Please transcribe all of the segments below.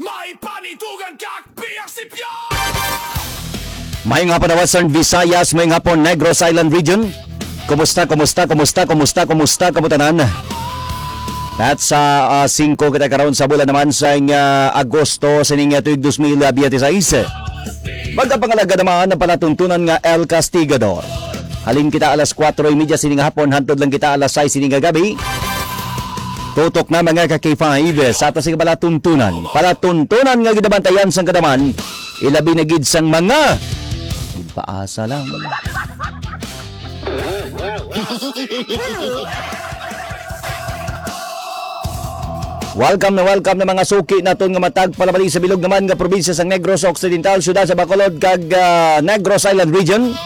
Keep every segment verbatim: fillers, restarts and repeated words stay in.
May panitugan ka, P R C P R! Maayong hapon, Western Visayas. Maayong hapon, Negros Island Region. Kumusta, kumusta, kumusta, kumusta, kumusta, kamo tanan? At sa ah, singko kita karon sa bulan naman sa ah, Agosto sa ning ah, tuig dos mil biyente sais. Magkapangalagad naman ang palatuntunan nga El Castigador. Halin kita alas kuwatro y media sining hapon, hantod lang kita alas sais sining gabi. Tutok na, mga ka K five, sa ato sing palatuntunan. Palatuntunan nga ginabantayan sang kadaman, ilabi na gid sang mga paasa lang. Welcome na welcome na mga suki naton nga matag palabali sa bilog naman nga probinsya sa Negros Occidental, siyudad sa Bacolod kag ah, Negros Island Region.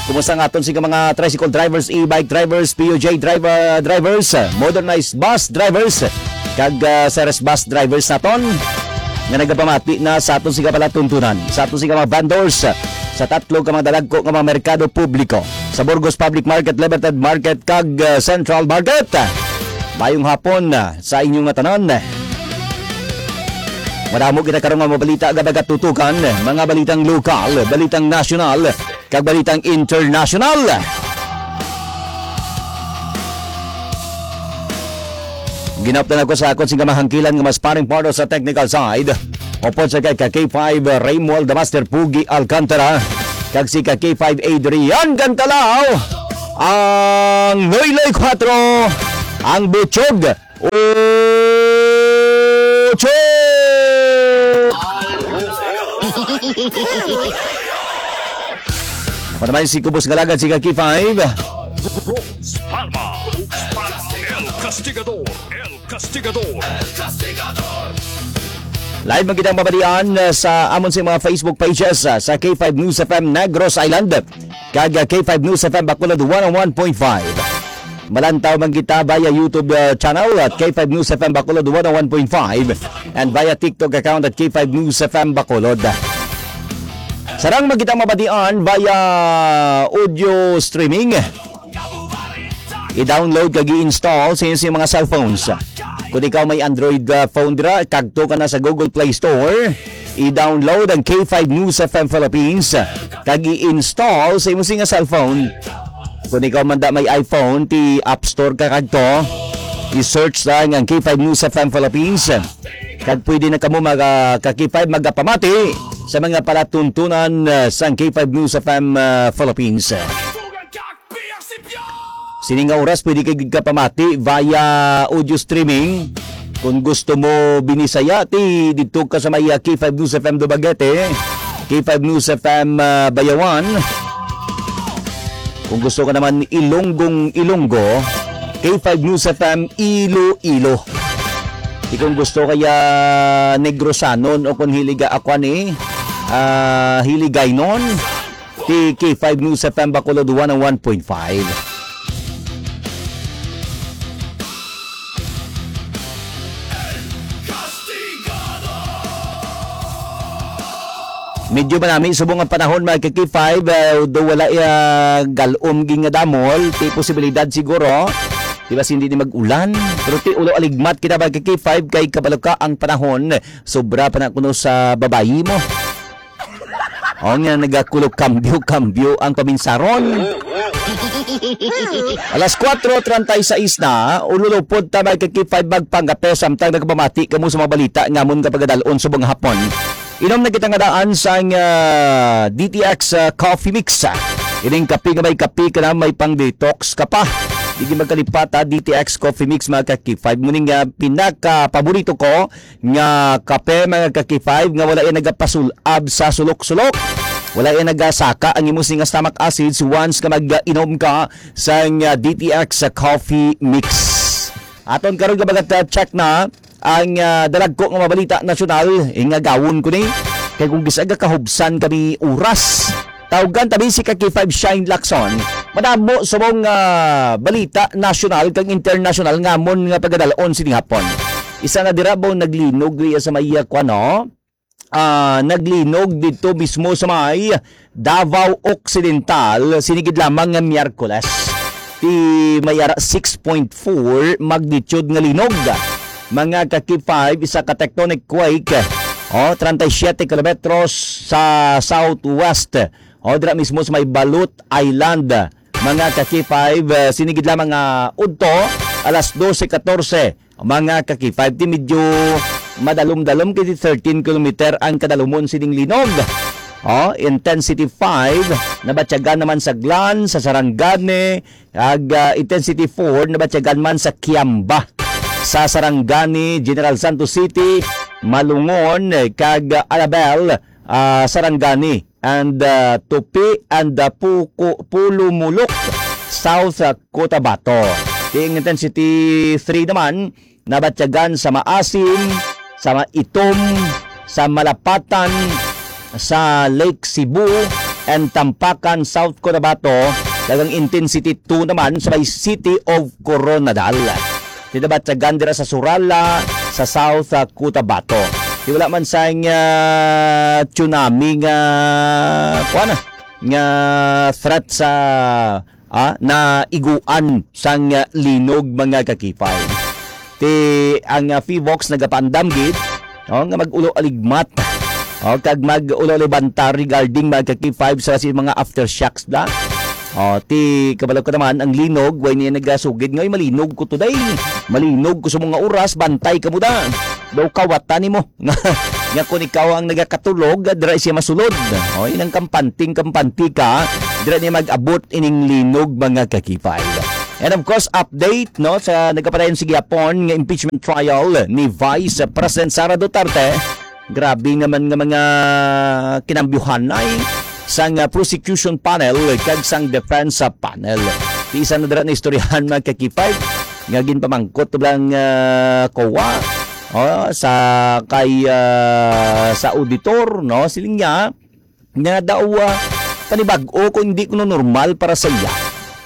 Kumusta nga aton sing mga tricycle drivers, e-bike drivers, P U J driver, drivers, ah, modernized bus drivers, kag ah, Ceres bus drivers naton nga nagapamati na sa aton sing palatuntunan, sa aton sing mga vendors, ah, sa tatlo ka mga dalagko nga mga merkado publiko, sa Burgos Public Market, Libertad Market, kag ah, Central Market. Mayong hapon ah, sa inyo nga tanan. Madamo kita karon nga mabalita nga magatutukan, mga balitang lokal, balitang nasyonal, kag balitang internasyonal. Ginaptan ako sa akon sing kamahangkilan nga mas paring part sa technical side. Upod sa kay ka K five Raymuald the Master Pugi Alcantara, kag si ka K five Adrian Cantalaw, ang Noyloy Cuatro, ang Buchog Ocho! Ako naman si Kubos Ngalagan, si Kaki five. Rose Palma, Rose Palma, El Castigador, El Castigador. Live man kitang mabalian, uh, sa amon sa mga Facebook pages, uh, sa K five News F M Negros Island, kag, uh, K five News F M Bacolod one oh one point five. Malantaw man kita via YouTube, uh, channel at K five News F M Bacolod one oh one point five and via TikTok account at K five News F M Bacolod. Sarang man kita mabatian via audio streaming. I-download kag i-install sa inyong mga cellphones. Kung ikaw may Android, uh, phone dira, kadto ka na sa Google Play Store. I-download ang K five News F M Philippines kag i-install sa imong singa cellphone. Kung ikaw man da may iPhone, ti App Store ka kadto, i-search lang ang K five News F M Philippines. Kag pwede na kamo mag, ah, ka K five magapamati sa mga palatuntunan, ah, sang K five News F M, ah, Philippines. Sini nga oras pwede kay gid ka pamati via audio streaming. Kung gusto mo Binisaya, ti didto ka sa may, ah, K five News F M Dumaguete, K five News F M, ah, Bayawan. Kung gusto ka naman Ilonggong Ilonggo, K five News F M Iloilo. Di kung gusto kaya Negrosanon o kung hiliga ako ni, ah, Hiligaynon, ti K five News F M Bacolod one oh one point five. Medyo manami subong ang panahon, mga ka-K five, eh, do wala, eh, galom gid nga damol, ti posibilidad siguro. Di ba, hindi ni mag-ulan? Pero ti ulo aligmat kita, mga ka-K five, kay kabalo ka ang panahon, sobra pa na kuno sa babayi mo. O nga, nagakulo kambyo-kambyo ang paminsaron. Alas kuwatro treinta y seis na, ululupod ta, mga ka-K five, magpanggape samtang nagpamati kamo sa mga balita nga amon nga pagadalon subong hapon. Inom na kita nga daan sang, ah, D T X, ah, Coffee Mix. Ining kape nga may kape ka na, may pang detox ka pa. Di gyud magkalipat, ha, D T X Coffee Mix, mga ka-K five. Mao ni nga pinaka paborito ko nga kape, mga ka-K five, nga wala yan nagapasul-ab sa sulok-sulok. Wala yan nagasaka ang imo singa stomach acids once nga mag-inom ka sang, ah, D T X sa coffee mix. Aton karon nga mga check na ang, ah, dalagko nga mga balita nasyonal, ingagawon ko ni. Kay kung gisaga kahubsan kami oras, tawgan tabi si ka K five Shine Lacson. Madamo subong, ah, balita nasyonal kag internasyonal nga amon nga pagadalon sini hapon. Isa na dira ba naglinog iya sa may, ah, kuwan, no? Ah, naglinog dito mismo sa may Davao Occidental, sinigid lamang nga Miyerkules. Ti may ara six point four magnitude nga linog. mga ka-K five, isa ka tectonic quake, oh, treinta y siete kilometros sa southwest, oh, dira mismo sa may Balut Island, mga ka-K five, eh, sini gid lamang nga udto, alas dose katorse, mga ka-K five, ti medyo madalom-dalom, kay thirteen kilometer ang kadalumon sining linog. Oh, intensity five, nabatyagan naman sa Glan, sa Sarangani, ag, ah, intensity four, nabatyagan man sa Kiamba, sa Sarangani, General Santos City, Malungon, eh, kag, ah, Alabel, ah, Sarangani, and, ah, Tupi, and, ah, Puku-, Pulumulok, South, ah, Cotabato. Ti intensity three naman, nabatyagan sa Maasim, sa Maitom, sa Malapatan, sa Lake Cebu, and Tampakan, South Cotabato, kag ang intensity two naman sa may City of Coronadal. Ti nabatyagan dira sa Surala, sa South, ah, Cotabato. Ti wala man sang, ah, tsunami nga, kuwan na, nga threat sa ah, naiguan sang, ah, linog, mga ka-K five. Ti ang, ah, PHIVOLCS nagapaandam gid, oh, nga mag-ulo aligmat, oh, kag mag-ulo alibanta regarding, mga ka-K five, sa si mga aftershocks da. Oh, ti kabalo ka naman, ang linog, way niya nagasugid nga, "Ay, malinog ko today. Malinog ko sa mga oras, bantay ka mo da." Daw kawatan nimo. Nga, nga kung ikaw ang nagakatulog, dira siya masulod. O, inang kampanting-kampanti ka, dira niya mag-abot ining linog, mga ka-K five. And of course, update, no, sa nagapadayon sa gihapon nga impeachment trial ni Vice President Sara Duterte. Grabe naman nga mga kinambyuhanay sang, ah, prosecution panel kag sang defense, ah, panel. Ti isa na dira na istoryahan, mga ka-K five, nga ginpamangkot lang, ah, kowa, oh, sa kay, ah, sa auditor, no? Siling niya nga daw, ah, panibag-o kung hindi kuno normal para sa iya,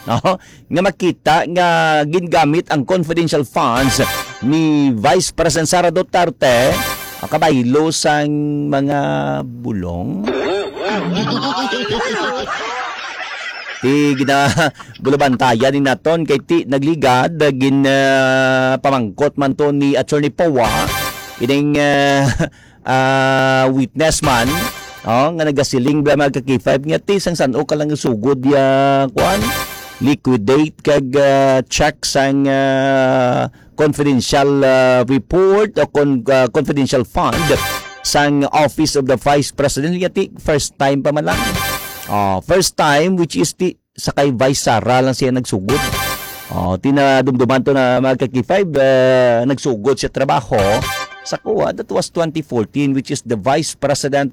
no? Nga makita nga gingamit ang confidential funds ni Vice President Sara Duterte, ah, kabaylo sang mga bulong. Ti gina-, bulabantayan ni naton kay ti nagligad, gin, ah, pamangkot man to ni Attorney Poa, kining, ah, ah, witness man, oh, nga nagasiling bala, mga ka-K five, nga ti sang san-o ka lang sugod ya, kuan, liquidate kag, ah, check sang, ah, confidential, ah, report o con-, ah, confidential fund sang Office of the Vice President. Nga ti, first time pa man lang. Oh, first time, which is ti, sa kay Vice Sara lang siya nagsugod. Oh, ti nadumduman to na, mga ka-K five, ah, nagsugod siya trabaho sa kuwa. That was twenty fourteen, which is the Vice President,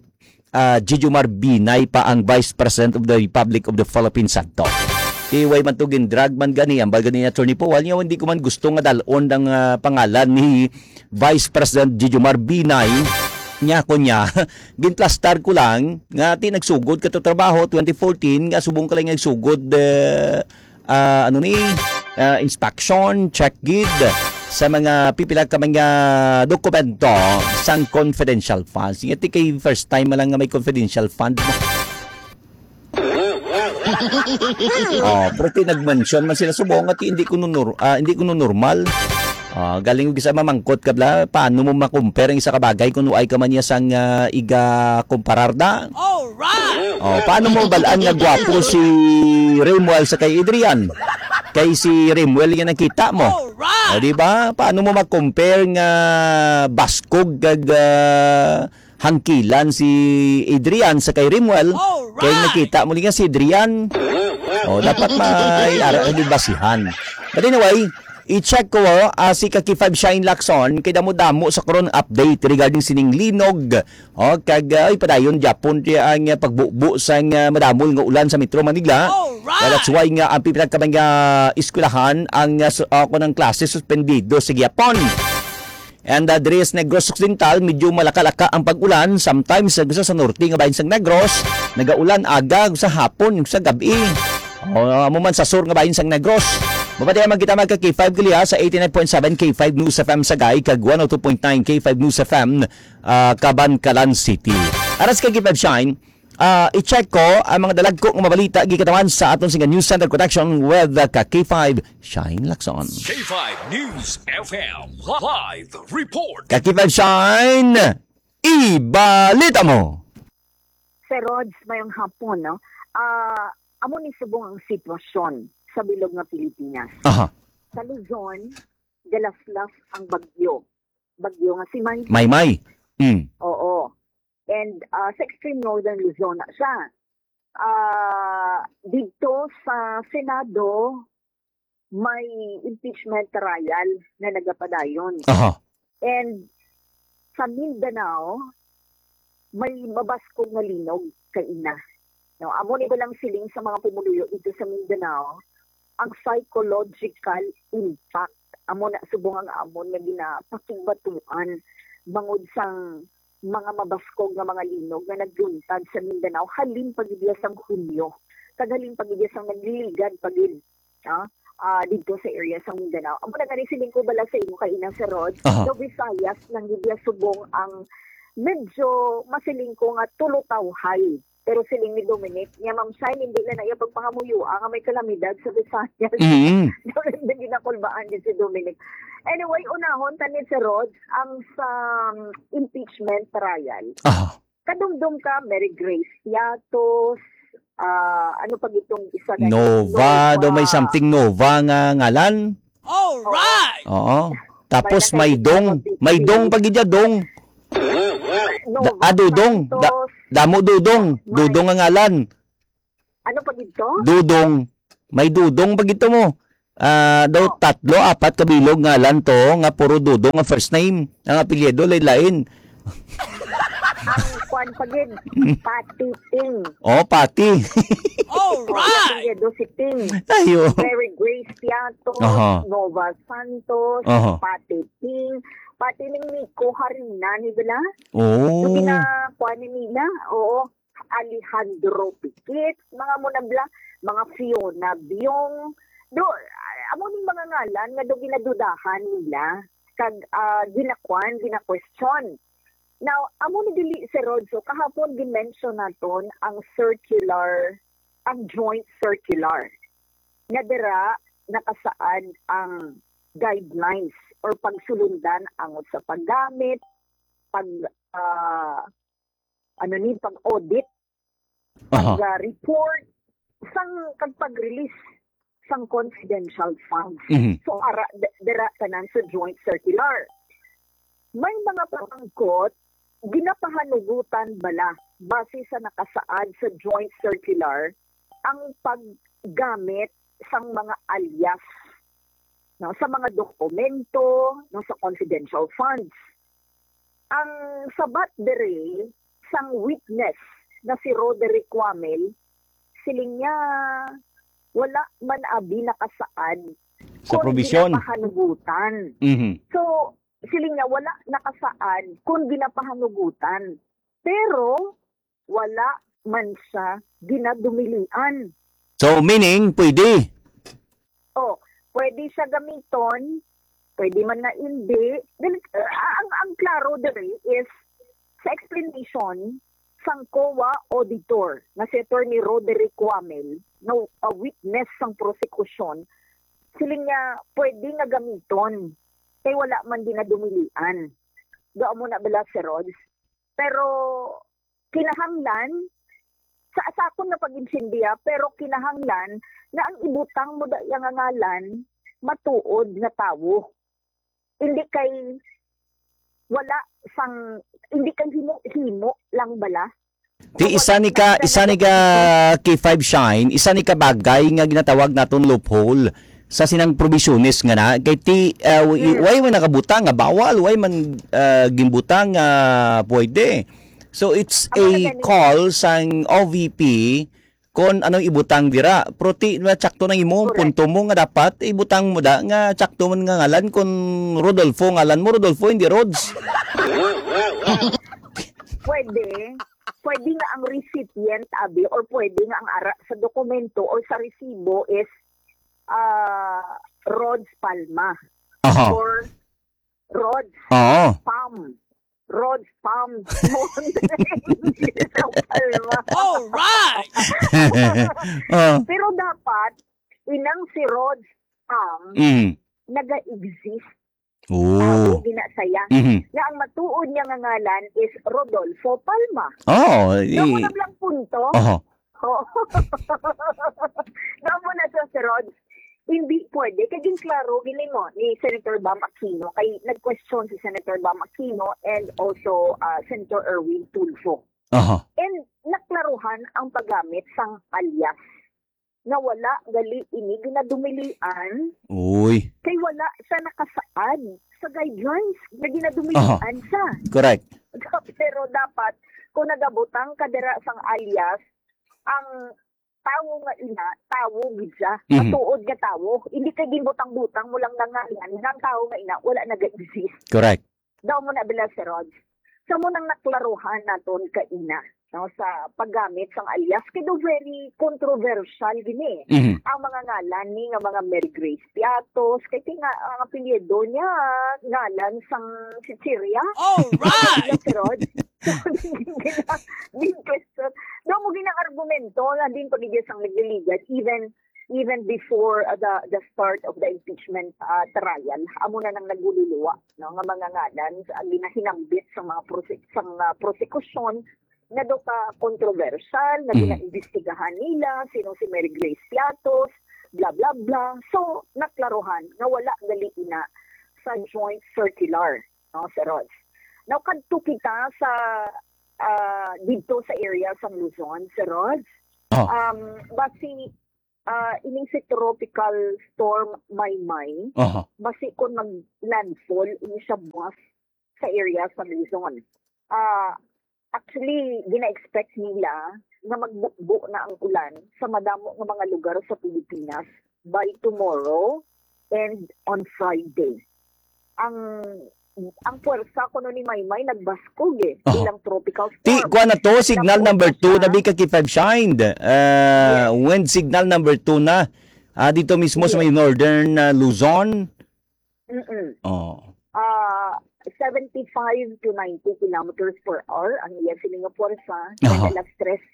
ah, Jejomar Binay pa ang Vice President of the Republic of the Philippines sadto. Ti way man to gindrag man gani, ambal gani ni Attorney Powell, nga hindi ko man gusto nga dalon ang, ah, pangalan ni Vice President Jejomar Binay. Nya ko niya, ginplastar ko lang nga ti nagsugod ka to trabaho twenty fourteen, nga subong ka lang nagsugod, eh, ah, ano ni, ah, inspection, check gid sa mga pipila ka mga dokumento sang confidential funds. Nga ti kay first time lang nga may confidential fund mo. Oh, pero ti nag-mention man sila subong nga ti hindi ko nunur-, ah, hindi ko normal. Ah, galing ko gisa mamangkot ka bla, paano mo ma-compare ang isa ka bagay kung nuay ka man niya sang, ah, iga kumparar da? Alright! Oh, paano mo balaan nga gwapo si Remuel sa kay Adrian? Kay si Remuel nga nakita mo. Alright! Oh, di ba? Paano mo ma-compare nga baskog kag, ah, hangkilan si Adrian sa kay Remuel? Alright! Kay nakita mo li nga si Adrian. Oh, dapat may ara ka basihan. But anyway, i-check ko, ah, si Kaki Five Shine Lacson, kay damo-damo sa karon update regarding sining linog. Oh, kag, ah, ay, padayon gyapon ti ang, ah, pagbubo sang, ah, madamol nga ulan sa Metro Manila. Alright! Kaya that's why nga ang pipila ka mga eskwelahan ang, ah, su-, ah, kunang klase suspendido sa gihapon. And, ah, diri sa Negros Occidental, medyo malaka-laka ang pag-ulan. Sometimes, sa, sa norte nga bahin sang Negros, nagaulan aga, sa hapon, sa gab-i. O, amo man sa sur nga bahin sang Negros. Mapadayon man kita, mga ka-K five Kaliha, sa eighty-nine point seven K five News F M Sagay, kag one oh two point nine K five News F M, ah, Kabankalan City. Aras kay K five Shine, Ah, i-check ko ang mga dalagko nga mabalita gikatawan sa aton singa News Center Connection with, uh, ka K five, Shine Lacson. K five News F M live report. Ka K five Shine, ibalita mo. Sir Rods, mayong hapon, no? Ah, amo ni subong ang sitwasyon sa bilog nga Pilipinas. Aha. Sa Luzon, galaslas ang bagyo. Bagyo nga si Maymay. Maymay. Mm. Oo. And, ah, sa extreme northern Luzon na siya. Ah, didto sa Senado, may impeachment trial na nagapadayon. Aha. And sa Mindanao, may mabaskog nga linog kaina. No, amo ni balang siling sa mga pumuluyo dito sa Mindanao, ang psychological impact. Amo na subong ang amon nga ginapakigbatuan bangod sang mga mabaskog nga mga linog nga nagluntad sa Mindanao halin pa gid sang Hunyo, kag halin pa gid sang nagliligad pa gid, ah, ah, didto sa area sa Mindanao. Amo na gani siling ko bala sa imo kaina, Sir Rod, Aha. The Visayas lang gid subong ang medyo masiling ko nga tulotawhay. Pero siling ni Dominic, niya, Ma'am Shine, hindi na na iya pagpangamuyoa nga may kalamidad sa Visayas. Mm. Daw na ginakulbaan din si Dominic. Anyway, unahon ta ni, Sir Rod, ang sa, um, impeachment trial. Aha. Kadumdum ka, Mary Grace Piatos, ah, ano pa gitong isa na Nova, daw may Nova. Something Nova nga ngalan. Alright! Oo. Tapos may May Dong, may Dong pa gid siya, Dong. Nova Da-, ah, Dudong. Da-, Santos. Damo Dudong. May Dudong ang ngalan. Ano pa gid to? Dudong. May Dudong pa gid to mo. Ah, daw Oh. tatlo, apat ka bilog ngalan to nga puro Dudong ang first name. Ang apelyido lain-lain. Ang kwan pa gid, Pati Ting. Oh, Pati. Alright! Ang apelyido si Ting. Ayo. Mary Grace Piatos, Aha. Nova Santos, Aha. Pati Ting. Pati ning Nico Harina ni bala. Oh. Yung gina-, kwan ni nila. Oo. Alejandro Pikit, mga mo na bla, mga Fiona Biong. Do, amo ning mga ngalan nga do ginadudahan nila kag, ah, ginakwan, gina-question. Now, amo ni dili, Sir Rod, so kahapon gi-mention naton ang circular, ang joint circular, nga dira nakasaad ang guidelines or pagsulundan angot sa paggamit, pag, ah, ano ni, pag-audit, Aha. pag, ah, report, sang, kag pag-release sang confidential funds. Mhm. So, ara, d-, dira tanan sa joint circular. May mga pamangkot, ginapahanugutan bala, base sa nakasaad sa joint circular, ang paggamit sang mga alias, no, sa mga dokumento, no, sa confidential funds. Ang sabat diri sang witness na si Roderick Quamel, siling niya wala man abi nakasaad Sa kung probisyon. ginapahanugutan. Mhm. So, siling niya wala nakasaad kung ginapahanugutan. Pero wala man siya ginadumilian. So, meaning, pwede? Oh, pwede siya gamiton, pwede man na hindi. Dili, ah, ang, ang klaro diri is sa explanation sang COA auditor nga si Attorney Roderick Quamel, no, a witness sang prosekusyon, siling niya pwede nga gamiton kay wala man ginadumilian. Do amo na bala, Sir Rods? Pero kinahanglan, sa, sa akon nga pag-intindiha, pero kinahanglan na ang ibutang mo da iya nga ngalan matuod nga tawo. Hindi kay wala sang, hindi kay himo-himo lang bala. Di, isa ni ka, isa ni ka K five Shine, isa ni ka bagay nga ginatawag naton loophole sa sinang probisyones nga na. Kay ti, uh, w-, Mm. why man nakabutang nga bawal, why man, uh, gimbutang nga pwede. So, it's Amo na a gani. call sang O V P kung anong ibutang dira. Pero ti, na tsakto nang imo, Correct. punto mo nga dapat ibutang mo da nga tsakto man nga ngalan kung Rodolfo ngalan mo, Rodolfo, hindi Rods. Pwede. Pwede nga ang recipient, abi, or pwede nga ang ara sa dokumento or sa resibo is, ah, Rods Palma Aha. or Rods Oo. Pam. Rod's Palm Mountain sa Palma. All right! Oh. Pero dapat, inang si Rod's Palm, Mm. naga-exist. Oh. Tawo gina saya. Mhm. Nga ang matuod niya nga ngalan is Rodolfo Palma. Oh, Damo i- na blang punto. Oho. Oo. Damo na siya, si Rod. Hindi pwede. Kay ginklaro gini mo ni Senator Bam Aquino. Kay nag-question si Senator Bam Aquino and also, ah, Senator Erwin Tulfo. Aha. And naklaruhan ang paggamit sang alias nga wala gali ini ginadumilian Uy. kay wala siya nakasaad sa guidelines nga ginadumilian Aha. siya. Correct. Pero dapat, kung nagabutang ka dira sang alias, ang tawo nga ina, tawo gid siya. Mhm. Matuod nga tawo. Hindi kay ginbutang-butang mo lang nga ngalan, nga ang tawo nga ina, wala naga-exist. Correct. Daw mo na bila si Rod. Sa mo nang naklaruhan naton kaina, no, sa paggamit sang alias, kay do very controversial gini. Mhm. Ang mga ngalan ni nga mga Mary Grace Piatos, kay ti nga ang apelyido niya, ngalan sang chichirya. All right! Bila si Rod. So, din question. Daw mo gina-argumento na din pag sang nagliligad, even even before, uh, the the start of the impeachment, uh, trial, amo na nang nagululuwa, no, nga mga ngalan sa ginahinambit sa mga prose-, sa mga prosekusyon nga do ka kontrobersyal, nga Mm. ginaimbestigahan nila, sino si Mary Grace Piatos, bla, bla, bla. So, naklaruhan nga wala gali ina sa joint circular, no, Sir Rod. Now, kadto kita sa, ah, didto sa area sa Luzon, Sir Rod. Oh. Um, basi, ah, ining si Tropical Storm Maymay, Aha. basi kung mag-landfall, ini siya buwas sa area sa Luzon. Ah, actually, gina-expect nila nga magbubo na ang ulan sa madamo nga mga lugar sa Pilipinas by tomorrow and on Friday. Ang ang puwersa kuno ni Maymay nagbaskog eh, Oh. bilang tropical Ti, storm. kuha na to, signal Napunta number two, siya. nabi ka kay five shined. Uh, Yes. Wind signal number two na. Ah, dito mismo sa Yes. may northern, ah, Luzon. Mm-mm. Oh. Ah, seventy-five to ninety kilometers per hour ang iya sini nga puwersa. Aha. Kaya alas tres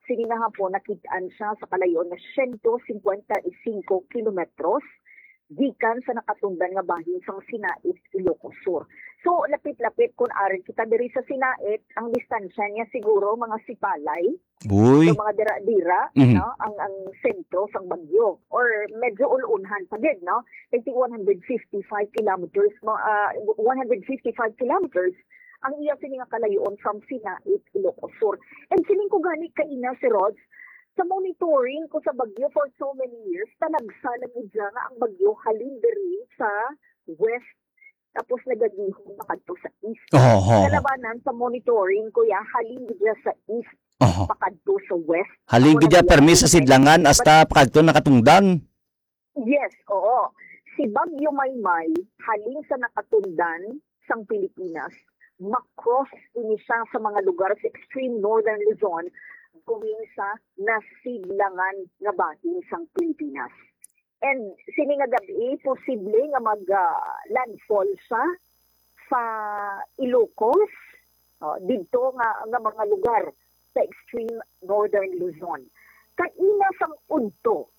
sini nga hapon, nakit-an siya sa kalayo nga siyento cincuenta y cinco kilometros gikan sa nakatundan nga bahin sang Sinait, Ilocos Sur. So, lapit-lapit, kung ari kita diri sa Sinait, ang distansya niya siguro mga sipalay. Uy. So, mga dira-dira, Mhm. no, ang, ang sentro sang bagyo. Or medyo ulunhan pa gid, no? I think one hundred fifty-five kilometers, mga, ah, one hundred fifty-five kilometers ang iya sini nga kalayoon from Sinait, Ilocos Sur. And siling ko gani kaina, si Rods, sa monitoring ko sa bagyo for so many years, talagsa lang gid siya nga ang bagyo halin diri sa west, tapos nagagihon makadto sa east. Oho, oho. Kalabanan sa monitoring ko, ya, halin gid siya sa east, Oho. pakadto sa west. Halin Ako gid siya nag-, permi sa sidlangan hasta pakadto nakatundan. Yes, oo. Si Bagyo Maymay, halin sa nakatundan sang Pilipinas, ma-cross ini siya sa mga lugar sa extreme northern Luzon, going sa nasidlangan nga bahin sang Pilipinas. And sini nga gab-i, posible nga mag, ah, landfall siya sa Ilocos, oh, didto nga, nga mga lugar sa extreme northern Luzon. Kaina sang udto,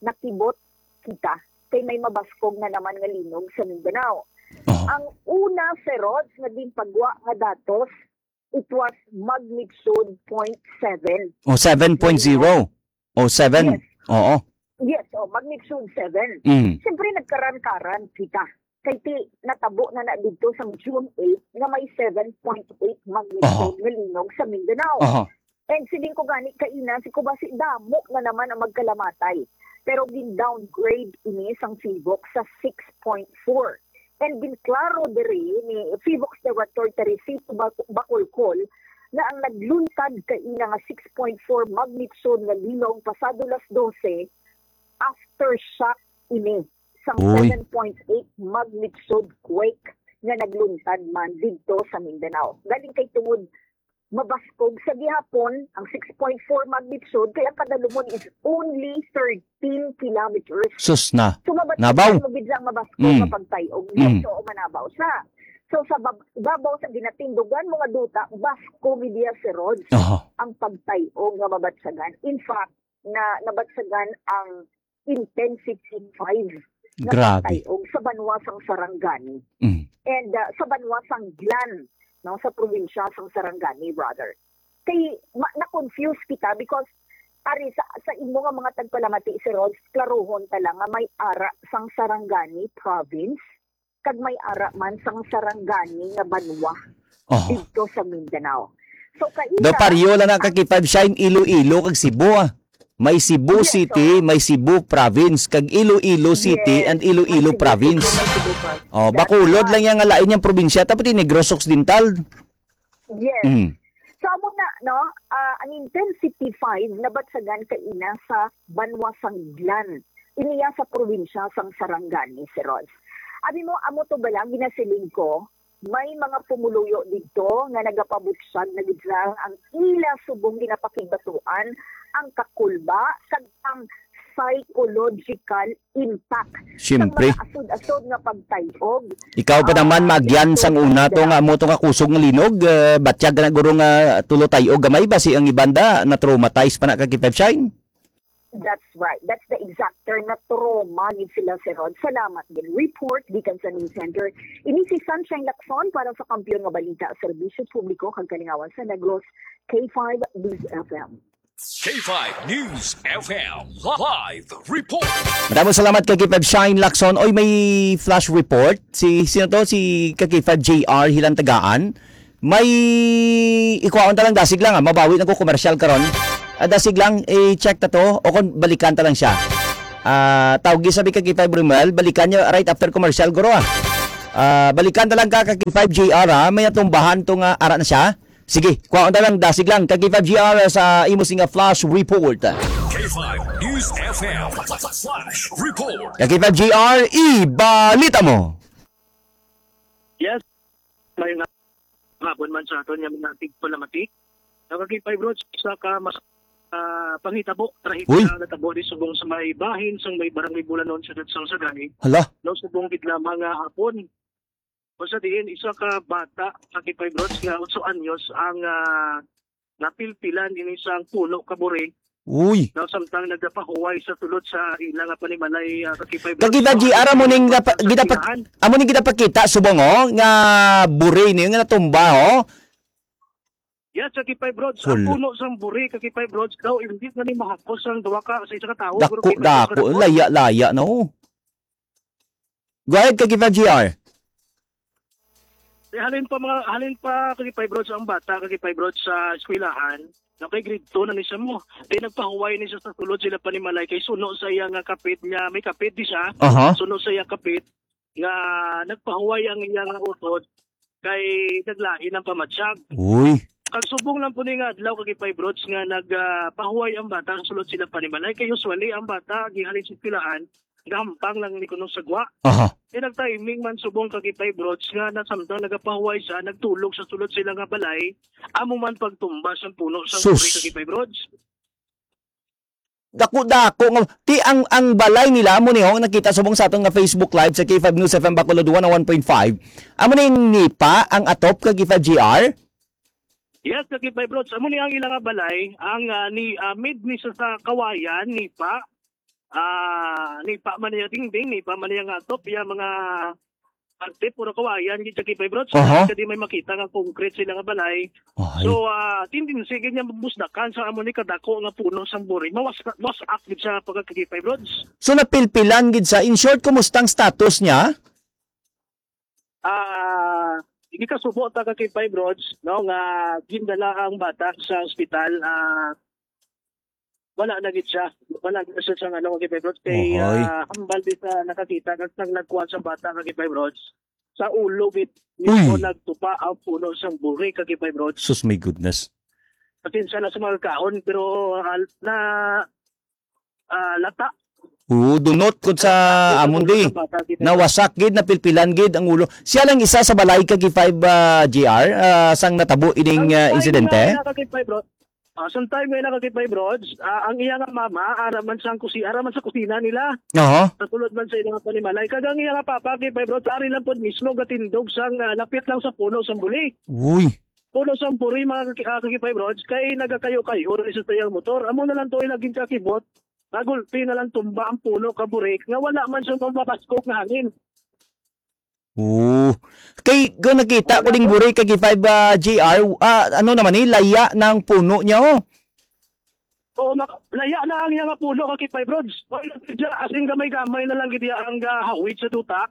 nakibot kita kay may mabaskog na naman nga linog sa Mindanao. Aha. Ang una, Sir Rods, nga ginpagwa nga datos, it was magnitude point seven. O, seven point zero. O, seven. Yes. Oo. Yes, oh, magnitude seven. Mm. Siyempre, nagkaran-karan kita. Kay ti, natabo na na dito sa June eight nga may seven point eight magnitude Aha. nga linog sa Mindanao. Aha. And siling ko gani kaina, si Kubasi, damo na naman ang magkalamatay. Pero gin-downgrade ini sang PHIVOLCS sa six point four. And ginklaro diri ni PHIVOLCS Director Teresito Bac-, Bacolcol na ang nagluntad kaina nga six point four magnitude nga linog pasado las dose, aftershock ini sang Uy. seven point eight magnitude quake nga nagluntad man didto sa Mindanao. Galing kay tungod mabaskog sa gihapon ang six point four magnitude, kay ang kadalumon is only thirteen kilometers. Sus na. So, mabat-, Nabaw. mo gid lang mabaskog Mm. nga pagtay-og. Mm. So, manabaw siya. So, sa bab-, babaw sa ginatindugan mo nga duta, basko gid iya, Sir Rog, Aha. ang pagtay-og nga mabatyagan. In fact, na nabatyagan ang intensity five nga Grabe. pagtay-og sa banwa sang Sarangani Mm. and, ah, sa banwa sang Glan, no, sa probinsya sang Sarangani, brother. Kay ma-, na-confuse kita because ari sa, sa imo nga mga tagpalamati, Sir Rog, klaruhon ta lang nga may ara sang Sarangani province kag may ara man sang Sarangani nga banwa Aha. didto sa Mindanao. So, kaila Do pareho lang na ka K five Shine, Iloilo kag Cebu, ah. May Cebu Yes, City, oo. may Cebu Province, kag Iloilo City Yes, and Iloilo may Cebu Province. City, may Cebu Province. Oh, That's Bacolod right. lang yang lain yang probinsya, tapos di Negros Occidental. Yes. Mm. So, amo na, no? Ah, ang intensity five nabatyagan kaina sa banwa sang Glan. Iniya sa probinsya sang Sarangani, Sir Rog. Abi mo, amo to bala, ginasiling ko, may mga pumuluyo didto nga nagapabutyag na gid lang ang ila subong ginapakigbatuan ang kakulba kag ang psychological impact Siyempre. sa mga asod-asod nga pagtay-og. Ikaw pa naman, Ah, Magyan, sang una to nga amo to nga kusog nga linog, eh, batyag na guro nga tulo tay-og gamay ba si ang ibanda na traumatized pa na kag K five Shine? That's right. That's the exact term na trauma gid sila, Sir Rog. Salamat din. Report gikan sa News Center. Ini si Sunshine Lacson para sa Kampiyon nga Balita, Serbisyo Publiko kag Kalingawan sa Negros, K five News F M. K five News F M live report. Madamo salamat kay K five Shine Lacson. Oy, may flash report. Si, sino to? Si ka K five J R Hilantagaan. May ikuhaon ta lang dasig lang, ah. Mabawi na ko commercial karon. Ah, dasig lang, i-check ta to. O kung balikan ta lang siya. Ah, tawgi sabi ka K five Romel, balikan niya right after commercial, guro, ah. Ah, balikan ta lang ka, ka K five J R, ah. May natumbahan to nga ara na siya. Sige, kuhaon ta lang, dasig lang. Ka K five J R sa imo singa flash report. K five News F M Flash Report. Ka K five J R, ibalita mo. Yes, may nga hapon man sa aton nga mga tigpalamati. Nakakipay, bro, sa ka mas, ah, panghitabo, trahedya Uy. nga natabo di subong sa may bahin sang may barangay Bulanon sa Dadsang Sagani. Hala. No, subong gid lamang nga hapon. Kung sa diin, isa ka bata, nakakipay, bro, nga otso anyos ang, ah, napilpilan ini sang puno ka buri. Uy. Daw samtang nagapahuway sa sulod sa ila nga panimalay, ah, kakipay, bro. Kakita, So, G R, amo ning ang napa-, ginapak-, pagkakasiyahan. amo ning ginapakita, subong, oh, nga buri niyo nga natumba, oh. Yes, kakipay, bro. Ang Sul- puno sang buri, kakipay, bro, daw hindi na ni mahakos ang duwa ka sa isa ka tawo, Dako, pero kita dako, sa laya, laya na, oh. Go ahead, kakipay, G R. Di halin pa mga, halin pa, kakipay, bro, sa ang bata, kakipay, bro, sa eskwelahan. Na kay grade two na ni siya mo. Di nagpahuway ni siya sa sulod sila panimalay kay suno sa iya nga kapit niya, may kapit di siya. Aha. Suno sa iya kapit nga nagpahuway ang iya nga utod kay naglain ang pamatyag. Uy. Kag subong lang po ni nga adlaw, kakipay, brods, nga nag, ah, pahuway ang bata sa sulod sila panimalay. Kay usually ang bata gihalin sa eskwelahan, gahampang lang ni kuno sa gwa. Aha. Kay nag-timing man subong, kakipay, brods, nga nasamtang nagapahuway siya, nagtulog sa sulod sila nga balay, amo man pagtumba sa puno sa Sus. Uri, kakipay, brods. Dako-dako nga, ti ang, ang balay nila, amo ni ho, nakita subong sa aton nga Facebook Live sa K five News F M Bacolod one oh one point five. Amo ni ang nipa, ang atop kag K five G R? Yes, kag K five, brods. Amo ni ang ila nga balay, ang, ah, ni, ah, mid ni sa, sa kawayan, nipa. Ah, nipa man niya dingding, nipa man niya nga atop, iya mga parte, puro kawayan gid sa K five, brods. Aha. Kadi may makita nga concrete sila nga balay. Ay. So, ah, tendency gid niya mabusdakan sa amo ni kadako nga puno sang buri. Mawas-, mawas-ak gid siya pagka K five, brods. So, napilpilan gid sa, in short, kumusta ang status niya? Ah, hindi ka subo ta ka K five, brods, no, nga gindala ang bata sa ospital, ah, wala na gid siya. Wala na siya sa ano, K five, brods. Kay, Ohoy. ah, hambal di sa nakakita, kag nang nagkuha sa bata, K five, brods. Sa ulo, gid, mismo Uy. nagtupa ang puno sang buri, K five, brods. Sus, my goodness. Pasensya na sa mga kaon, pero, ah, na, ah, lata. Oo, dunot kod sa Lata, amon di. Sa bata, K five, brods. Nawasak gid, napilpilan gid ang ulo. Siya lang isa sa balay, K five, ah, G R, ah, sang natabo ining, Ang ah, time insidente? na, K five, brods, Ah, sometime nga na, Kakipay Brods, ah, ang iya nga mama, ara man sang kusi-, ara man sa kusina nila. Oo. Sa sulod man sa ilang panimalay. Kag ang iya nga papa, Kakipay Brods, ari lang pod mismo gatindog sang, ah, lapit lang sa puno sang buli. Uy. Puno sang buri, mga kaki-, ah, Kakipay Brods, kay nagakayo-kayo na siya sa iyang motor. Amo na lang to, naging kakibot. Nagulpi na lang tumba ang puno ka buri nga wala man siya mabaskog nga hangin. Oo. Kay, kung nakita ko ding buri kag five, ah, G R, ah, ano naman ni, laya na ang puno niya, oh. Oo, mak-, laya na ang iya nga puno, Kakipay Brods. Wala na siya, as in, gamay-gamay na lang gid iya ang gahawid sa duta.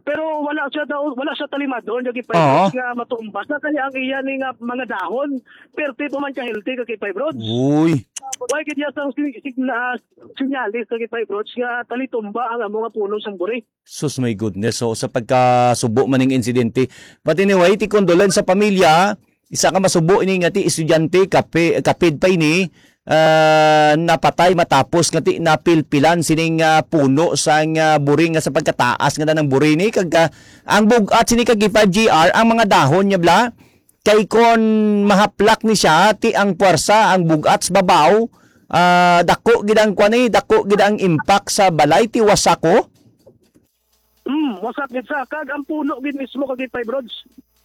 Pero wala siya daw, wala siya talimado, Kakipay Oo. Brods, nga matumba sa kaya ang iya ni nga mga dahon. Perte pa man ka healthy, Kakipay Brods. Uy. Wala gid iya sang si-, signa-, sinyalis, Kakipay Brods, nga talitumba ang amo nga puno sang buri. Sus, my goodness. So, sa pagkasubo man ning insidente, but anyway, ti condolence sa pamilya. Isa ka masubo ini nga ti estudyante, kapi-, kapid pa ini, ah, napatay matapos nga ti napilpilan sining, ah, puno sang, ah, buri nga sa pagkataas nga na ng buri ni. Kag, ah, ang bug-at sini kag five G R, ang mga dahon niya bla, kay kon mahaplak ni siya, ti ang puwersa, ang bug-at sa babaw, ah, dako gid ang kwan ni, dako gid ang impact sa balay, ti wasak ko. Hmm, wasak gid sa, kag ang puno gid mismo kag five rods.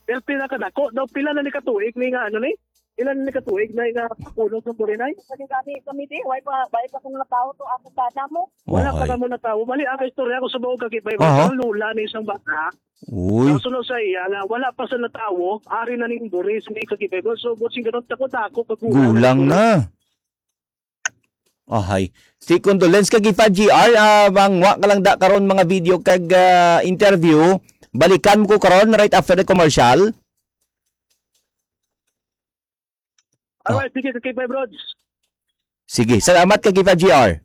Pero pinakadako daw, pila na ni katuig ni nga, ano ni? Pila na ni katuig na nga puno sa burinay? Kami, kami, kami, di, why pa, why pa kung natawo to, ako sana mo? Wala pa Okay. kamo natawo. Bali, ang istorya ko sa buong kag five rods, Aha. ang lula ni isang bata. Uy. Ang sunod sa iya nga, wala pa sa natawo, ari na ning buris ni kag five rods. So, buot sing ganun, takot ako pag Gulang na. Ahay. Si condolence kag five G R, ah, mangwa ka lang da karon mga video kag, ah, interview. Balikan mo ko karon right after the commercial. Alright, sige, kag five rods. Sige, salamat kag five G R.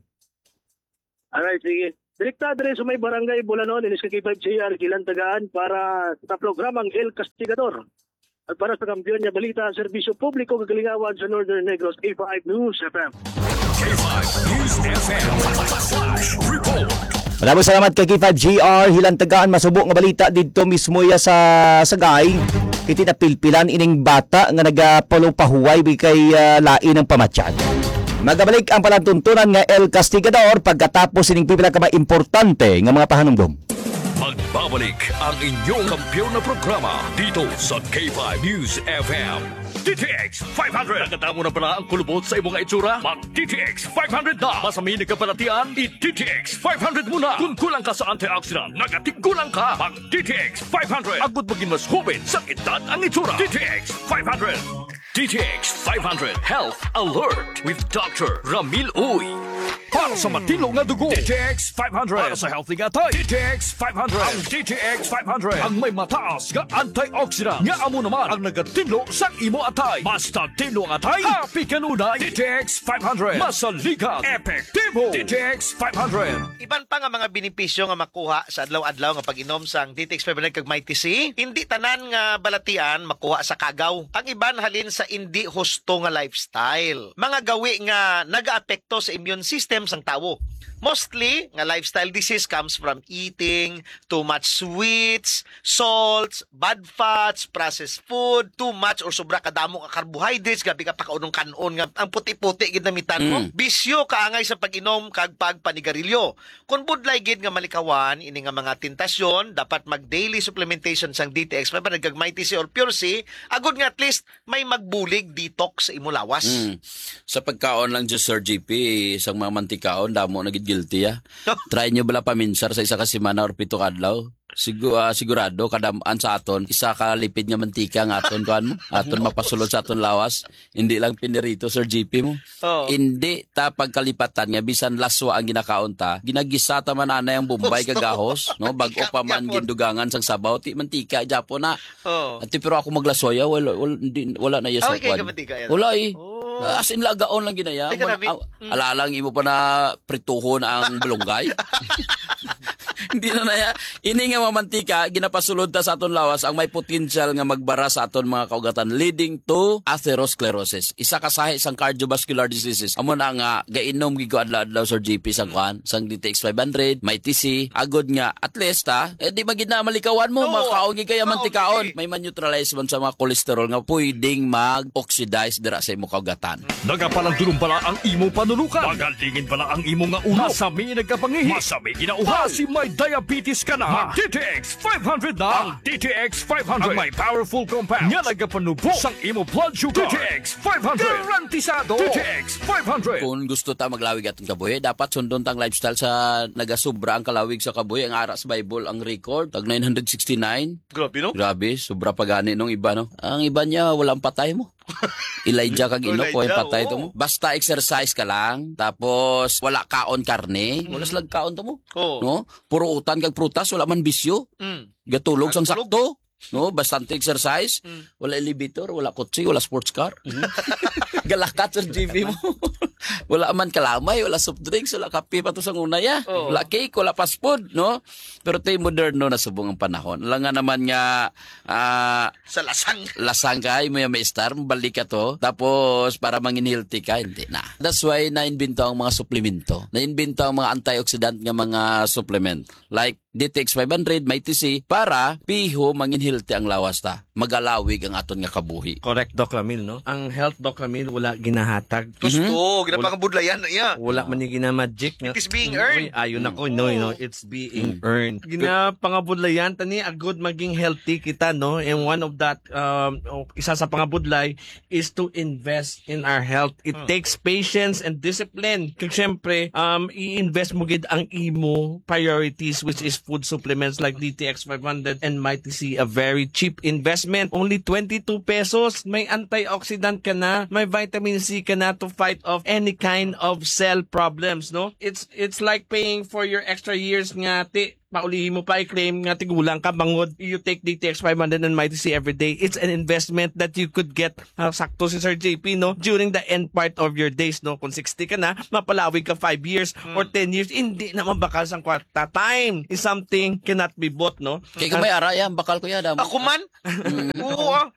Alright, sige. Direkta diri sa may barangay Bulanon, inis kag five G R, Gilan Tagaan para sa programang El Castigador. At para sa kampiyon nga balita, serbisyo publiko kag kalingawan sa Northern Negros, K five News F M. K five News F M. Flash Report. Maraming salamat kay K five G R. Hilantagaan masubo nga balita didto mismo iya sa Sagay. Iti napilpilan ining bata nga nagapalupahuway bi kay, ah, lain ang pamatyan. Magabalik ang palatuntunan nga El Castigador pagkatapos ining pipila ka mga importante nga mga pahanumdom. Magbabalik ang inyong kampiyon na programa dito sa K five News F M. D T X five hundred. Nakatamo na pala ang kulubot sa imong itsura? Mag D T X five hundred na. Mas mahilig ka palatian? I D T X five hundred muna. Kung kulang ka sa antioxidant, nagatiggulang ka. Mag D T X five hundred. Agud maging mas hubin sa edad ang itsura. D T X five hundred. D T X five hundred Health Alert with Doctor Ramil Uy. Para sa matino nga dugo, D T X five hundred. Para sa healthy nga atay, D T X five hundred. Ang D T X five hundred ang may mataas nga antioxidant nga amo naman ang nagatinlo sa imo atay. Mas tinlo ang atay, happy kanunay. D T X five hundred. Masaligan, epektibo. D T X five hundred. Iban pa nga mga benepisyo nga makuha sa adlaw-adlaw nga pag-inom sang D T X five hundred kag Mighty C, hindi tanan nga balatian makuha sa kagaw. Ang iban halin sa indi husto nga lifestyle. Mga gawi nga nagaapekto sa immune system sang tawo. Mostly nga lifestyle disease comes from eating too much sweets, salts, bad fats, processed food, too much or sobra kadamo nga carbohydrates, grabe ka pakaunong kan-on nga ang puti-puti gid namitan mo. Mm. Bisyo kaangay sa pag-inom kag pagpanigarilyo. Kon budlay gid nga malikawan ini nga mga tentasyon, dapat mag daily supplementation sang D T X five hundred kag Mighty C or Pure C, agud nga at least may magbulig detox sa imo lawas. Mm. Sa pagkaon lang, just Sir G P, isang mga mantikaon, damo na gid guilty, ah. Try nyo bala paminsar sa isa ka semana or pito ka adlaw. Sigu-, ah, sigurado, kadam-an sa aton, isa ka lipid nga mantika ang aton, kuan mo, aton mapasulod sa aton lawas. Hindi lang pinirito, Sir G P mo. Oo. Hindi ta pagkalipatan nga bisan laswa ang ginakaon ta, ginagisa ta man anay ang bombay kag gahos, no? Bag-o pa man gindugangan sang sabaw, ti mantika gyapon na. Oo. Ati, pero ako maglaswa, ya, wala, wala, hindi, wala na iya sa kuan. Wala, eh. Oh. As in, lagaon lang ginaya. Ay, grabe. Mag-, ah, Mm. Alalang imo pa na prituhon ang balunggay. Hindi na na ya. Ini nga mga mantika, ginapasulod ta sa aton lawas ang may potential nga magbara sa aton mga kaugatan, leading to atherosclerosis. Isa ka sahi sang cardiovascular diseases. Amo na nga, gainom gid ko adlaw-adlaw, Sir G P, sang kuan, sang D T X five hundred, may T C, agod nga, at least, ha, eh, di man gid na malikawan mo, Oo. Makaon gid kaya Makaon mantikaon. Gid. May man-neutralize man sa mga cholesterol nga pwedeng mag-oxidize dira sa imo kaugatan. Nagapalandulong bala ang imo panulukan. Magalingin bala ang imo nga ulo. Masami nagkapangihi. Masami ginauhaw. Basi may diabetes ka na. Mag D T X five hundred na. Ang D T X five hundred. Ang may powerful compound nga nagapanubo sang imo blood sugar. D T X five hundred. Garantisado. D T X five hundred. Kung gusto ta maglawig atong kabuhi, dapat sundon tang lifestyle sa nagasubra ang kalawig sa kabuhi. Ang ara sa Bible, ang record, tag nine hundred sixty-nine. Grabe, no? Grabe, sobra pa gani nung iba, no? Ang iba niya, walang patay mo. Elijah kag Enoch, Elijah, way patay to oo. Mo. Basta exercise ka lang, tapos wala kaon karne, wala Mm. sila kaon to mo. Oo. No? Puro utan kag prutas, wala man bisyo. Mm. Gatulog sang Tulog. Sakto. No, bastante exercise, Mm. wala elevator, wala kotse, wala sports car. Mm. Galakat, Sir G V mo. Wala man kalamay, wala soft drinks, wala kape pa to sa una ya. Oo. Wala cake, wala fast food, no? Pero tay moderno na subong ang panahon. Alam nga naman nga, ah, Sa lasang. Lasang ka, imo ya maestar, mabalik ka to. Tapos, para mangin healthy ka, hindi na. That's why na-invento ang mga suplemento. Na-invento ang mga antioxidant nga mga supplement. Like, D T X five hundred, may T C, para piho mangin healthy ang lawas ta. Magalawig ang aton nga kabuhi. Correct, Doc Ramil, no? Ang health, Doc Ramil, wala ginahatag. Gusto, Mhm. ginapangabudlayan na iya. Wala man yung ginamagic, no? It is being Mm, earned. Uy, ayun ako, no, no, Mm. it's being Mm. earned. Ginapangabudlayan, tani, agod maging healthy kita, no? And one of that, um, o, isa sa pangabudlay is to invest in our health. It Hmm. takes patience and discipline. Kag syempre, um, i-invest mo gid ang imo priorities, which is food supplements like D T X five hundred and Mighty C, a very cheap investment. Only twenty-two pesos. May antioxidant ka na, may vitamin C ka na to fight off any kind of cell problems, no? It's, it's like paying for your extra years nga ti paulihi mo pa i-claim nga tigulang ka bangod you take D T X five hundred and Mighty C every day. It's an investment that you could get, ah, sakto si Sir J P, no? During the end part of your days, no? Kung sixty ka na, mapalawig ka five years Hmm. or ten years, hindi na mabakal sang kwarta. Time is something cannot be bought, no? Kaya kung may ara yan, bakal ko yan, ah. Ako man? Mm. Oo, ah.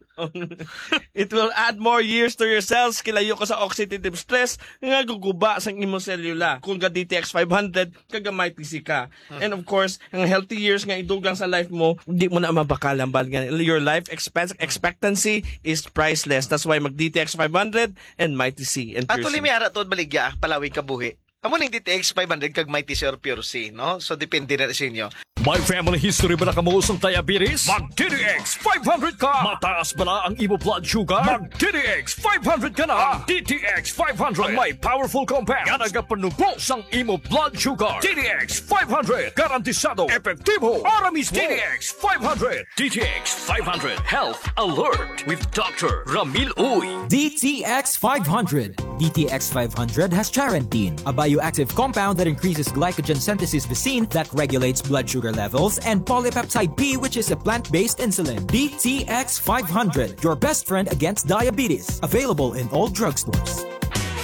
It will add more years to your cells. Kilayo ka sa oxidative stress nga guguba sang imong selula. Kung ga D T X five hundred, kagamay P C ka. Hmm. And of course, ang healthy years nga idugang sa life mo, di mo na mabakal ang bal nga your life expense, expectancy is priceless. That's why mag D T X five hundred and Mighty C and Pure Actually, C. May ara to, baligya, palawig ka buhi. Amo ning D T X five hundred kag Mighty C or Pure C, no? So, depende na sa inyo. May family history bala kamo sang diabetes? Mag D T X five hundred ka! Mataas bala ang imo blood sugar? Mag D T X five hundred ka na! Ang D T X five hundred ang may powerful compound nga nagapanubo sang imo blood sugar. D T X five hundred, garantisado, epektibo, para mismo. D T X five hundred. D T X five hundred Health Alert with Doctor Ramil Uy. D T X five hundred. D T X five hundred has charantine, a bioactive compound that increases glycogen synthesis vacin that regulates blood sugar levels, and polypeptide P, which is a plant-based insulin. D T X five hundred, your best friend against diabetes. Available in all drugstores.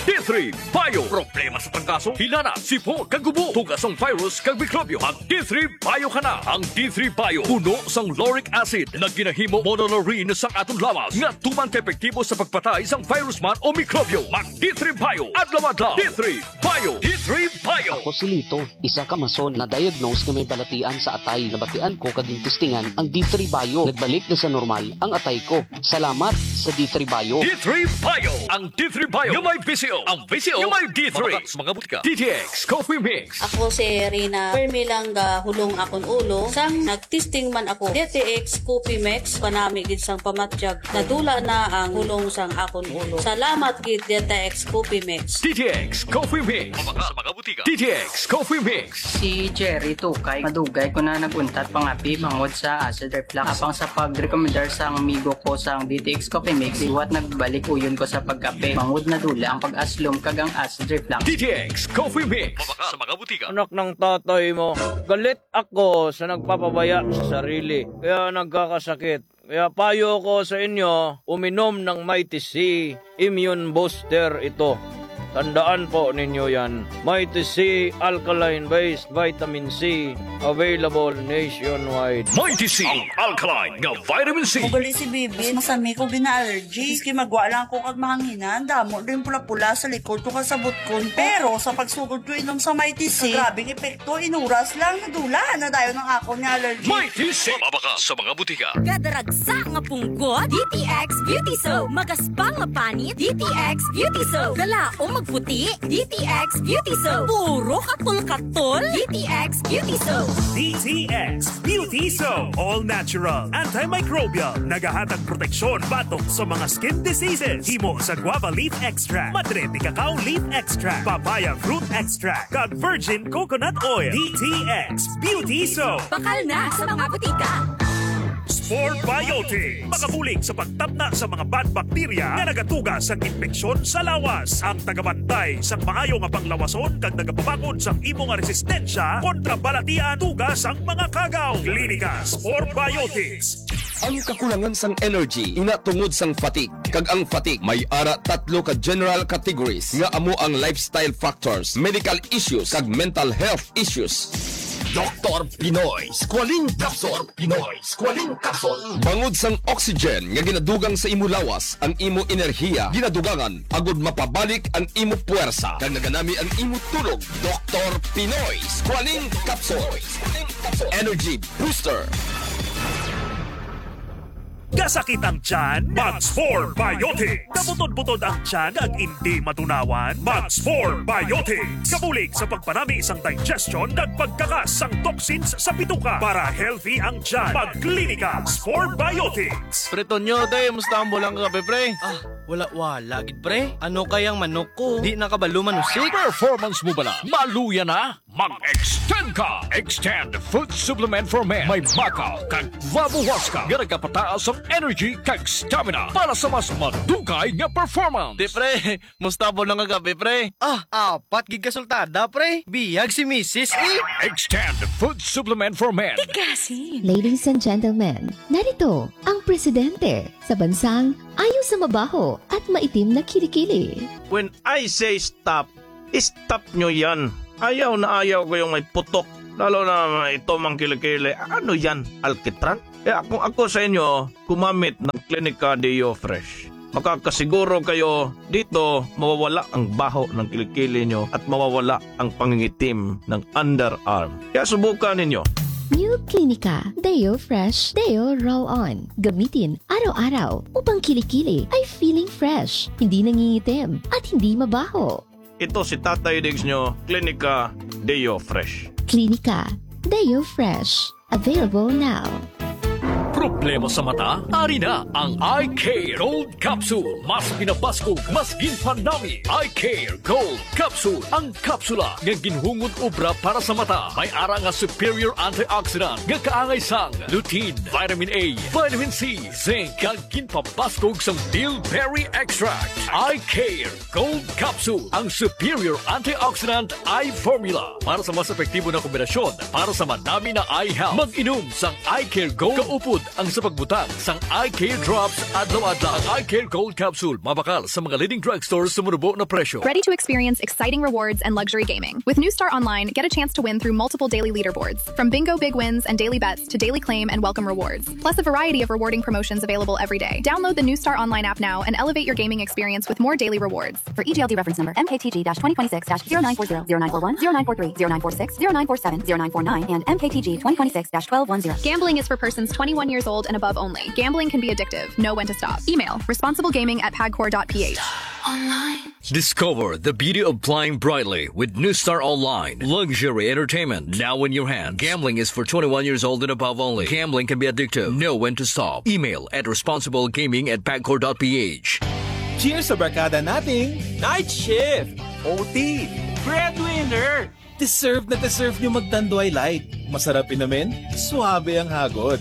D three Bio. Problema sa trangkaso, hilana, sipon, kag gubo, tuga sang virus, kag mikrobyo. Mag D three Bio ka na. Ang D three Bio, puno sang lauric acid, nga ginahimo monolaurin sang aton lawas, nga tuman ka epektibo sa pagpatay sang virus man o mikrobyo. Mag D three Bio, adlaw-adlaw. D three Bio. D three Bio. Ako si Lito, isa ka mason na diagnose nga may balatian sa atay. Nabatian ko kag gintistingan ang D three Bio. Nagbalik na sa normal ang atay ko. Salamat sa D three Bio. D three Bio. Ang D three Bio nga may V C O. Ang V C O nga may D three. Mga, mga butika. D T X Coffee Mix. Ako si Rina. Permi lang gahulong akon ulo. Sang nagtesting man ako, D T X Coffee Mix, panami gid sang pamatyag. Nadula na ang hulong sang akon ulo. Salamat gid, D T X Coffee Mix. D T X Coffee Mix. Mga, mga butika. D T X Coffee Mix. Si Jerry Tukay, madugay ko na nag-untat pangapi bangod sa acid reflux. Apang sa pagrekomendar sang amigo ko sang D T X Coffee Mix, liwat nagbalik uyon ko sa pagkape. Bangod nadula ang pag-aslom kag ang acid reflux. D T X Coffee Mix. Mabaka sa mga butika. Anak ng tatay mo, galit ako sa nagpapabaya sa sarili, kaya nagkakasakit. Kaya payo ko sa inyo, uminom ng Mighty C, immune booster ito. Tandaan po ninyo yan. Mighty C Alkaline Based Vitamin C, available nationwide. Mighty C, ang alkaline nga vitamin C. Ugali si Bibi, masami ko gina-allergy. Maski magwa lang ako kag mahanginan, damo din pula-pula sa likod ko kag sa butkon ko. Pero sa pagsugod ko inom sa Mighty C, grabing epekto, inuras lang, nadula na dayon ang akon nga allergy. Mighty C, mabakal sa mga butika. Kadaragsa nga punggot, D T X Beauty Soap. Magaspang nga panit, D T X Beauty Soap. Galaom magputi, D T X Beauty Soap. Puro katol-katol, D T X Beauty Soap. D T X Beauty Soap. All natural, antimicrobial. Nagahatag proteksyon batok sa mga skin diseases. Himo sa guava leaf extract, madre de cacao leaf extract, papaya fruit extract, kag virgin coconut oil. D T X Beauty Soap. Bakal na sa mga butika. Spore Biotics. Makabulig sa pagtapna sa mga bad bacteria nga nagatuga sang impeksyon sa lawas. Ang tagabantay sang maayo nga panglawason kag nagapabakod sang imo nga resistensya kontra balatian tuga sang mga kagaw. Klinika Spore Biotics. Ang kakulangan sang energy ina tungod sang fatigue, kag ang fatigue may ara tatlo ka general categories nga amo ang lifestyle factors, medical issues, kag mental health issues. Doktor Pinoy Squalene Capsule. Pinoy Squalene Capsule. Bangod sang oxygen nga ginadugang sa imo lawas, ang imo enerhiya ginadugangan agud mapabalik ang imo puwersa, kag naganami ang imo tulog. Doktor Pinoy Squalene Capsule. Energy Booster. Kasakit ang tiyan? Mag Spore Biotics. Kabutod-butod ang tiyan kag indi matunawan? Mag Spore Biotics. Kabulig sa pagpanami sang digestion kag pagkakas sang toxins sa bituka para healthy ang tiyan. Mag Klinika Spore Biotics. Pre Tonyo, day, musta ang bulang kagabi, pre? Ah, wala-wala gid, pre. Ano kayang manok ko? Di na kabalo manusik. Performance mo bala? Maluya na? Mag-extend ka! Extend Food Supplement for Men. May maca kag guava huasca nga nagapataas ang energy kag stamina para sa mas madugay nga performance. Di, pre, musta ang bulang kagabi, pre? Ah, apat gid ka sultada, pre. Biyag si misis, eh. Extend Food Supplement for Men. Tigasin. Ladies and gentlemen, narito ang presidente sa bansang ayaw sa mabaho at maitim na kilikili. When I say stop, stop nyo yan. Ayaw na ayaw ko yung may putok, lalo na ito mang kilikili. Ano yan? Alkitran? Kaya kung ako sa inyo, gumamit ng Klinika Deo Fresh. Makakasiguro kayo dito, mawawala ang baho ng kilikili nyo at mawawala ang pangingitim ng underarm. Kaya subukan ninyo. New Klinika Deo Fresh Deo Roll On. Gamitin araw-araw upang kilikili ay feeling fresh, hindi nangingitim, at hindi mabaho. Ito si Tatay Diggs nyo, Klinika Deo Fresh. Klinika Deo Fresh. Available now. Problema sa mata? Ari na ang Eye Care Gold Capsule. Mas pinabaskog, mas ginpanami. Eye Care Gold Capsule. Ang kapsula nga ginhungod obra para sa mata. May ara nga superior antioxidant nga kaangay sang lutein, vitamin A, vitamin C, zinc, kag ginpabaskog sang bilberry extract. Eye Care Gold Capsule, ang superior antioxidant eye formula para sa mas epektibo na kombinasyon para sa madami na eye health. Mag-inom sang Eye Care Gold kaupod ang sa pagbutang sang Eye Care Drops adlaw-adlaw. Ang Eye Care Gold Capsule mabakal sa mga leading drugstores sa manubo na presyo. Ready to experience exciting rewards and luxury gaming? With New Star Online, get a chance to win through multiple daily leaderboards, from bingo big wins and daily bets to daily claim and welcome rewards, plus a variety of rewarding promotions available every day. Download the New Star Online app now and elevate your gaming experience with more daily rewards. For E G L D reference number, M K T G dash twenty twenty-six dash zero nine four zero, zero nine four one, zero nine four three, zero nine four six, zero nine four seven, zero nine four nine, and M K T G twenty twenty-six dash twelve one zero. Gambling is for persons twenty-one years old and above only. Gambling can be addictive. Know when to stop. Email responsiblegaming at pagcor dot P H. Discover the beauty of flying brightly with New Star Online. Luxury entertainment now in your hand. Gambling is for twenty-one years old and above only. Gambling can be addictive. Know when to stop. Email at responsiblegaming at pagcor dot P H. Cheers sa barkada nating night shift, O T, breadwinner. Deserve na deserve nyo mag Tanduay Light. Masarap inumin, suabe ang hagod.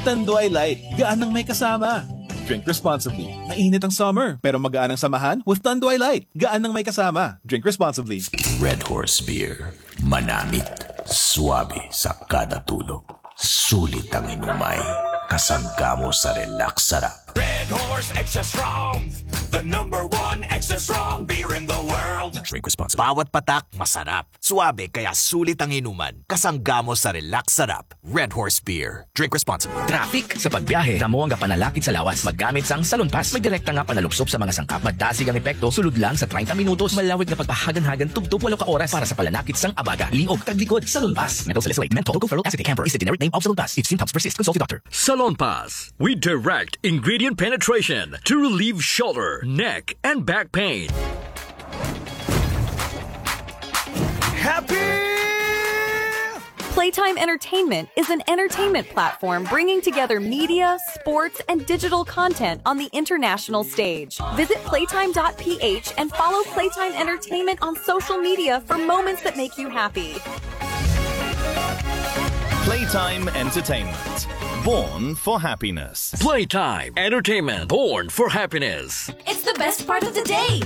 Tanduay Light, gaan ang may kasama. Drink responsibly. Mainit ang summer, pero magaan ang samahan with Tanduay Light. Gaan ang may kasama. Drink responsibly. Red Horse Beer. Manamit, suabe sa kada tulo. Sulit ang inumay, kasangga mo sa relax sarap. Red Horse Extra Strong, the number one extra strong beer in the world. Drink responsibly. Bawat patak, masarap. Suabe, kaya sulit ang inuman. Kasangga mo sa relax sarap. Red Horse Beer. Drink responsibly. Traffic sa pagbiyahe, kamo ang gapanalakit sa lawas. Maggamit sang Salon Pass. May direkta nga panalupsop sa mga sangkap. Madasig ang epekto, sulod lang sa treinta minutos. Malawig nga pagpahaganhagan, tubtob walo ka oras para sa palanakit sang abaga, liog, kag likod. Salon Pass. Menthol salicylate, menthol, tocopherol acetate, camphor is the generic name of Salon Pass. If symptoms persist, consult your doctor. Salon Pass. We direct ingredient penetration to relieve shoulder, neck, and back pain. Happy! Playtime Entertainment is an entertainment platform bringing together media, sports, and digital content on the international stage. Visit playtime dot p h and follow Playtime Entertainment on social media for moments that make you happy. Playtime Entertainment. Born for happiness. Playtime Entertainment, born for happiness. It's the best part of the day.